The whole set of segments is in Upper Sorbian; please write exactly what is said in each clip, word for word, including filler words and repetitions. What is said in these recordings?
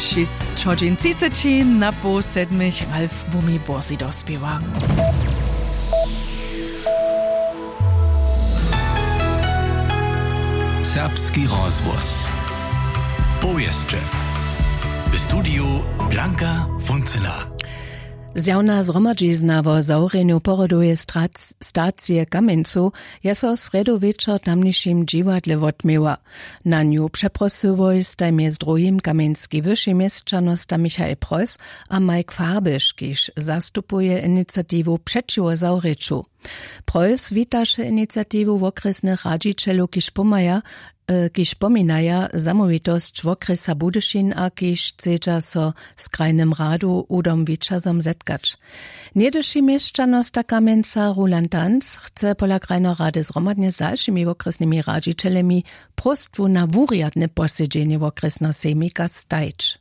Šěsć hodźin třiceći na poł sedmich. Ralf Bumi bórzi dospěwa. Serbski rozhłos. Powěsće. W studiju Blanka Funcyna. Zjawna zhromadźizna wo zawrjenju porodoweje stacije w Kamjencu je so srjedu wječor w tamnišim dźiwadle wotměła. Na nju přeprosyłoj staj mjez druhim kamjenski wyši měsćanosta Michael Preuss a Mike Farbisch, kiž zastupuje iniciatiwu přećiwo zawrěću. Preuss witaše iniciatiwu wokrjesnych radźićelow, kiž pomaja, kiž pominaja zamołwitosć wokrjesa Budyšin a kiž chcedźa so z krajnym radu Udom Wićazom zetkać. Něhdyši měšćanosta Kamjenca Roland Tanz chce pola krajneho rady zhromadnje z dalšimi wokrjesnymi radźićelemi próstwu na wurjadne posedźenje wokrjesneho sejmika stajić.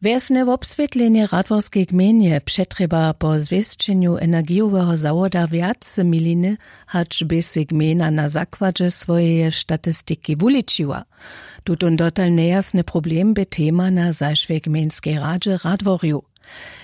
Wjesne wobswětlenje w radworskej gmejnje přetrjeba po zwěsćenju energijoweho zawoda wjace miliny, hač bě sej gmejna na zakładźe swojeje statistiki wuličiła. Tutón dotal njejasny problem bě tema na zašłej gmejnskej radźe w radworju.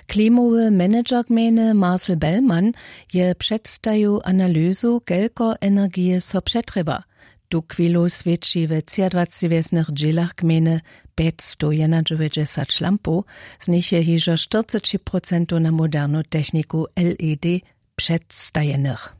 Klimowy manager gmejny Marcel Bellmann je předstajił analyzu, kelko energije so přetrjeba. Tuchwilu swěći we třiadwaceći wjesnych dźělach gmejny pjećstowjenadźewjećdźesat lampow, z nich je hižo štyrceći procentow na modernu techniku led předstajenych.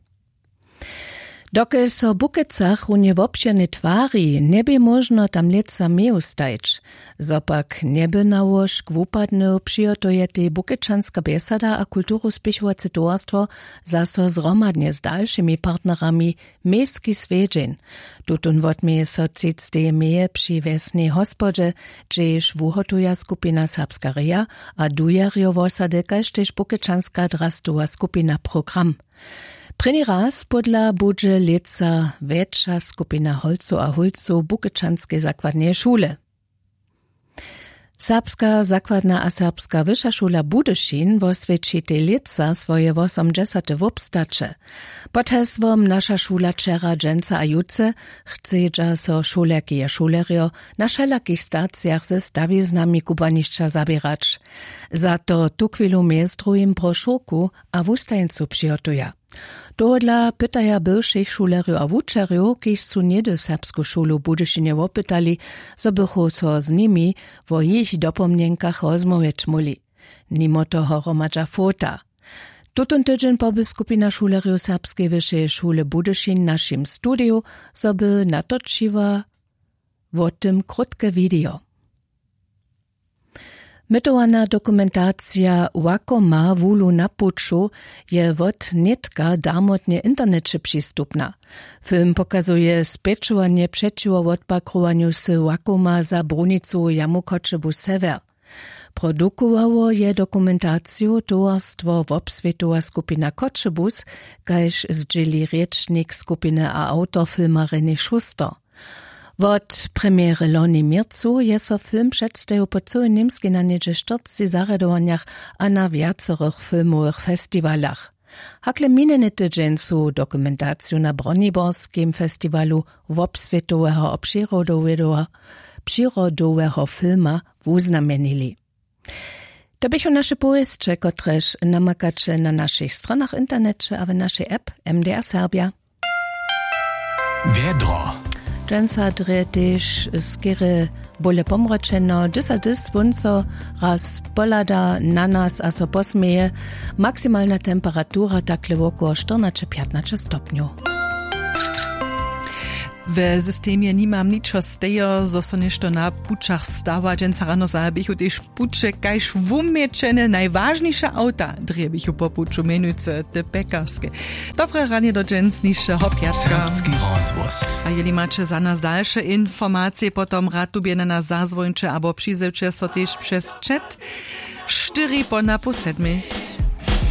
Dokelž so w Bukecach runje wobšěrnje twari, njebě móžno tam lětsa meju stajić. Zo pak njeby na łožk wupadnył, přihotujetej Bukečanska bjesada a kulturuspěchowace towarstwo zaso zhromadnje z dalšimi partnerami mejski swjedźeń. Tutón wotměje so třicteje meje při wjesnej hospodźe, hdźež wuhotuja skupina Serbska reja a dujerjo wosady kaž tež Bukečanska drastowa skupina program. Prěni raz pódla budźe lětsa wjetša skupina holcow a hólcow bukečanskej zakładneje šule. Serbska zakładna a serbska wyša šula Budyšin woswjeći tej lětsa swoje wosomdźesate wobstaće. Pod hesłom Naša šula wčera, dźensa a jutře chcedźa so šulerki a šulerjo na wšelakich stacijach ze stawiznami kubłanišća zaběrać. Za to tuchwilu mjez druhim brošurku a wustajeńcu přihotuja. Tohodla pytaja bywšich šulerjow a wučerjow, kiž su něhdy serbsku šulu w Budyšinje wopytali, zo bychu so z nimi wo jich dopomnjenkach rozmołwjeć móhli. Nimo toho hromadźa fota. Tutón tydźeń poby skupina šulerjow serbskeje wyšeje šule Budyšin w našim studiju, zo by natočiła wo tym krótke widejo. Mytowana dokumentacija Łakoma wulu na puću je wot nětka darmotnje w interneće přistupna. Film pokazuje spjećowanje přećiwo wotpakrowanju wsy Łakoma za brunicowu jamu Choćebuz sewjer. Produkowało je dokumentaciju towarstwo wobswětowa skupina Choćebuz, kaž zdźěli rěčnik skupiny a awtor filma René Schuster. Wot premjery loni w měrcu je so film předstajił po cyłej Němskej na něhdźe štyrceći zarjadowanjach a na wjacorych filmowych festiwalach. Hakle minjeny tydźeń su dokumentaciju na Broniborskim festiwalu wobswětoweho přirodoweho, přirodoweho filma wuznamjenili. To běchu naše powěsće, kotrež namakaće na našich stronach w interneće a w našej app M D R Serbja. Wjedro. Dźensa drje tež skerje bóle pomročeno, hdyž so hdyž słónco raz pohlada na nas a so posměje. Maksimalna temperatura takle wokoło štyrnaće pjatnaće stopnjow. We systemje nimam ničo stejo, zo so něšto na pućach stawa. Dźensa rano zahabichu tež puće kaž wuměćene. Najwažniše awta drjebichu po puću, mjenujcy te pjekarske. Dobre ranje do dźensnišeho pjatka. Serbski rozhłos. A jeli maće za nas dalše informacije, potom rad tubje na nas zazwońće abo přizewće so tež přez chat štyri po napoł sedmich.